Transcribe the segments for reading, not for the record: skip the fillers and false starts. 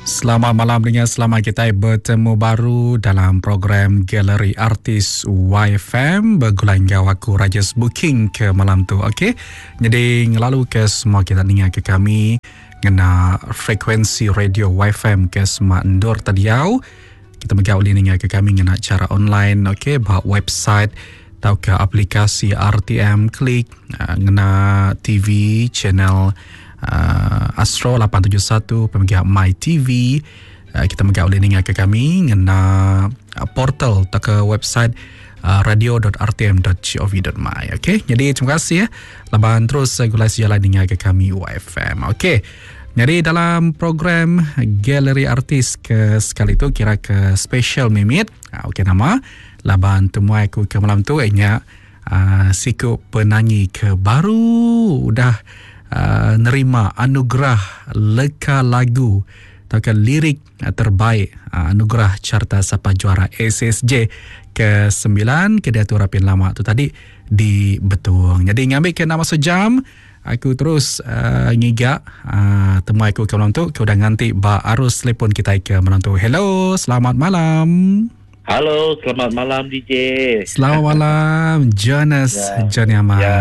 Selamat malam dengan selamat kita bertemu baru dalam program Galeri Artis YFM bergulai enggau aku Rajes Booking ke malam tu. Okey. Jadi ngelalu ke semua kita ninga ke kami ngena frekuensi radio YFM ke semua endur tadiau. Kita mega ulih ninga ke kami ngena cara online okey ba website tauka aplikasi RTM Klik ngena TV channel Astro 871 pemega My TV kita mega ulih ninga ke kami ngena portal tauka website radio.rtm.gov.my okey jadi terima kasih ya laban terus gulai sejalai ninga ke kami YFM okey jadi dalam program galeri artis ke sekali tu kira ke special mimit okey nama laban temuai aku ke malam tu ianya uh, siku penanyi ke baru udah uh, nerima anugerah leka lagu tauka lirik uh, terbaik uh, anugerah carta sapa juara SSJ ke 9 ke diatur rapin lama tu tadi di Betung. Jadi ngambil ke nama sejam aku terus uh, ngiga uh, temuai aku ke malam tu ke udah nganti ba arus telefon kita ke malam tu. Hello, selamat malam. Halo, selamat malam DJ. Selamat malam Jonas ya. Johnny Aman. Ya.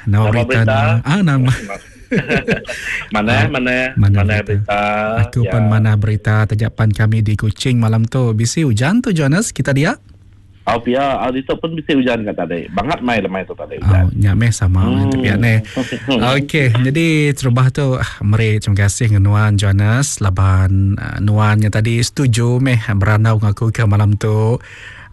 Nama, nama berita. berita. Ah, nama. mana, ah, mana, mana, mana berita. berita. Aku ya. pun mana berita terjapan kami di Kuching malam tu. Bisi hujan tu Jonas, kita dia. Oh pia, oh, itu pun bisa hujan kat tadi. Bangat mai lemai tu tadi hujan. Oh, nya meh sama hmm. tapi ane. Okey, jadi terubah tu ah, meri terima kasih dengan Nuan Jonas laban uh, Nuan yang tadi setuju meh berandau ngaku ke malam tu.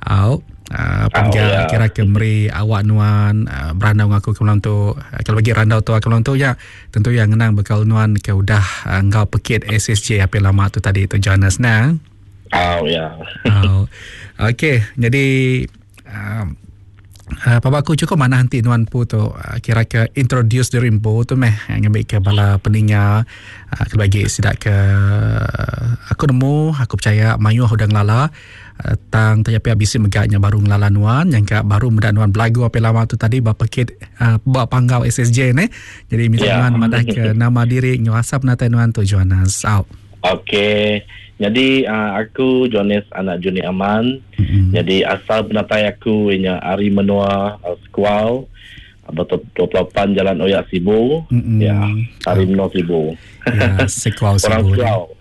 Au uh, oh, ya. kira ke meri awak Nuan uh, berandau ngaku ke malam tu. Uh, kalau bagi randau tu ke malam tu ya tentu yang ngenang bekal Nuan ke udah uh, enggau pekit SSJ apa lama tu tadi tu Jonas nah. Oh ya. Oh. Okey, jadi um, uh, Papa aku cukup mana nanti nuan pu tu uh, kira ke introduce diri empu tu meh ngambil ke bala peninga uh, ke bagi sidak ke uh, aku nemu aku percaya mayuh udah ngelala uh, tang tanya pihak bisi megaknya baru ngelala nuan yang ka baru muda nuan belagu apa lama tu tadi ba pekit uh, ba panggau SSJ ne jadi minta yeah. nuan madah ke nama diri nguasa penatai nuan tu Jonas out. Okey. Jadi uh, aku Jonas anak Juni Aman. Mm-hmm. Jadi asal penatai aku ianya ari menua uh, Sekuau. Betul 28 Jalan Oyak Sibu. Mm-hmm. Ya, ari menua Sibu. Ya, Sekuau Sibu. Orang Sekuau. Ya.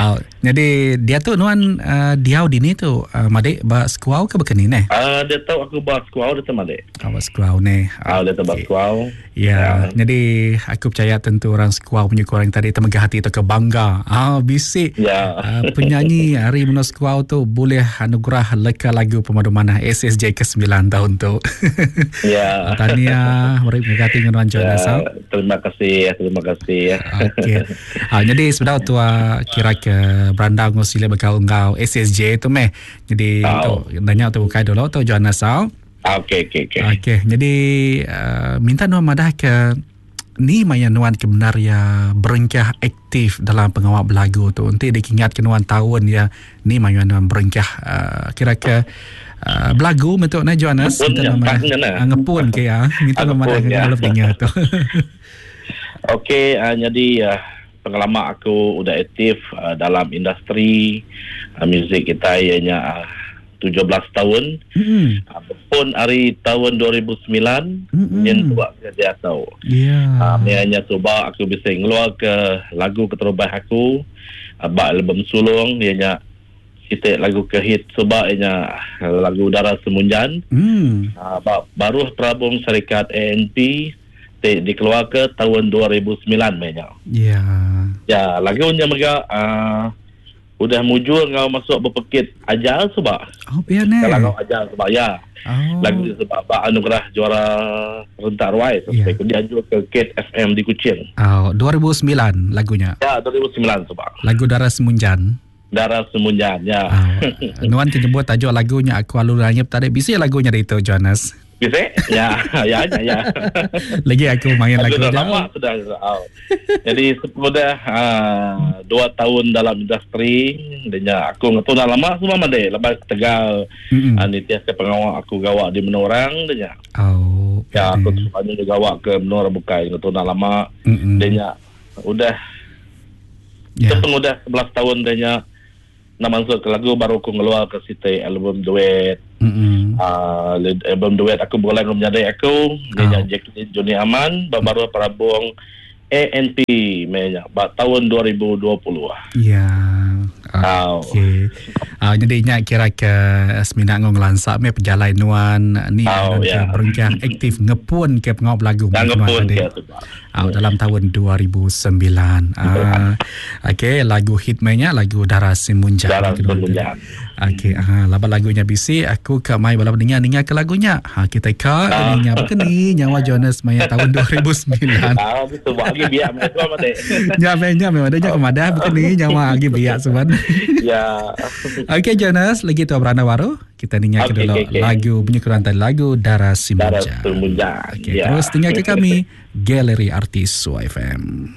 oh, jadi dia tu nuan uh, diau dini tu uh, madik ba Sekuau ke bekeni neh? Uh, dia tahu aku ba Sekuau dia tu madik. Oh, ba Sekuau neh. Ah, dia tu ba Sekuau. Ya, ya, jadi aku percaya tentu orang Sekuau punya kurang tadi temegah hati atau kebangga. Ah, bisik ya. Uh, penyanyi hari Menua Sekuau tu boleh anugerah leka lagu pemadu manah SSJ ke-9 tahun tu. Ya. Tahniah, meri terima kasih dengan Jonas. Ya, terima kasih, terima kasih. Okey. Ah, jadi sebenarnya tua kira ke berandau ngau sila bekal ngau SSJ tu meh. Jadi oh. tu nanya tu bukai dulu tu Jonas. Okey, okey, okey. Okey, jadi uh, minta nuan madah ke ni maya nuan ke benar ya berengkah aktif dalam pengawal belagu tu. Nanti dikingat ke nuan tahun ya ni maya nuan berengkah uh, kira ke uh, belagu bentuk na Jonas. Minta nuan madah. Ngepun ke ya. Minta nuan madah ke ya. Kalau dengar tu. Okey, uh, jadi uh, pengalaman aku udah aktif uh, dalam industri uh, muzik kita ianya uh, 17 tahun. Mm. Pun hari tahun 2009 yang buat kerja tau. Ya. Yeah. Uh, cuba aku bisa ngeluar ke lagu keterubah aku, bak album sulung ianya kita lagu ke hit cuba ianya lagu Udara Semunjan. Mm. Uh, baru Perabung Syarikat ANP dikeluar ke tahun 2009 banyak. Ya. Yeah. Ya, lagunya mega uh, udah mujur ngau masuk berpekit ajar sebab. Oh, biar ni. Kalau ngau ajar sebab ya. Oh. Lagu sebab bak anugerah juara rentak ruai Ya. sampai yeah. dia jual ke Kate FM di Kuching. Oh, 2009 lagunya. Ya, 2009 sebab. Lagu Dara Semunjan. Dara Semunjan ya. Oh. Nuan menyebut tajuk lagunya aku alu ranyep tadi bisi lagunya itu Jonas. Bisa? Ya, ya, ya, ya. Lagi aku main lagu dah lama sudah. Oh. Jadi sudah uh, 2 tahun dalam industri, dan aku ngatu dah lama semua made. Lepas Tegal, mm-hmm. uh, nitias ke pengawak aku gawak di menorang, dan Oh. Ya, aku sepanjang gawak ke menorang bukai ngatu dah lama. Mm-hmm. Dan udah Yeah. Sepengudah 11 tahun dah nya na mansut ke lagu baru aku ngeluar ke siti album duet. Mm-hmm. Album duet aku begulai enggau menyadi aku, dia nya oh. Jacqueline Juni Aman, baru perabung ANP meh nya ba taun 2020. Ya. Okey. Uh, jadi nya kira ke semina ngau ngelansa meh pejalai nuan ni oh, yeah. ke berengkah aktif ngepun ke pengawa belagu nuan tadi. Uh, dalam tahun 2009. Uh, Okey, lagu hit meh nya lagu Dara Simunjan. Dara Simunjan. Okey, ah laban lagu nya bisi aku ka mai bala peninga ninga ke lagu nya. Ha kita ka ah. ninga baka ni nyawa Jonas maya tahun 2009. Ah betul buat agi biak meh tuan mate. Nya meh nya meh nya kemadah baka ni nyawa agi biak seban. Ya. Okey Jonas, lagi tu beranda baru kita ninga ke dulu okay, okay. lagu bunyi kerantai lagu Dara Simunjan. Dara Simunjan. Okey, ya. terus tinggal ke kami Galeri Artis YFM.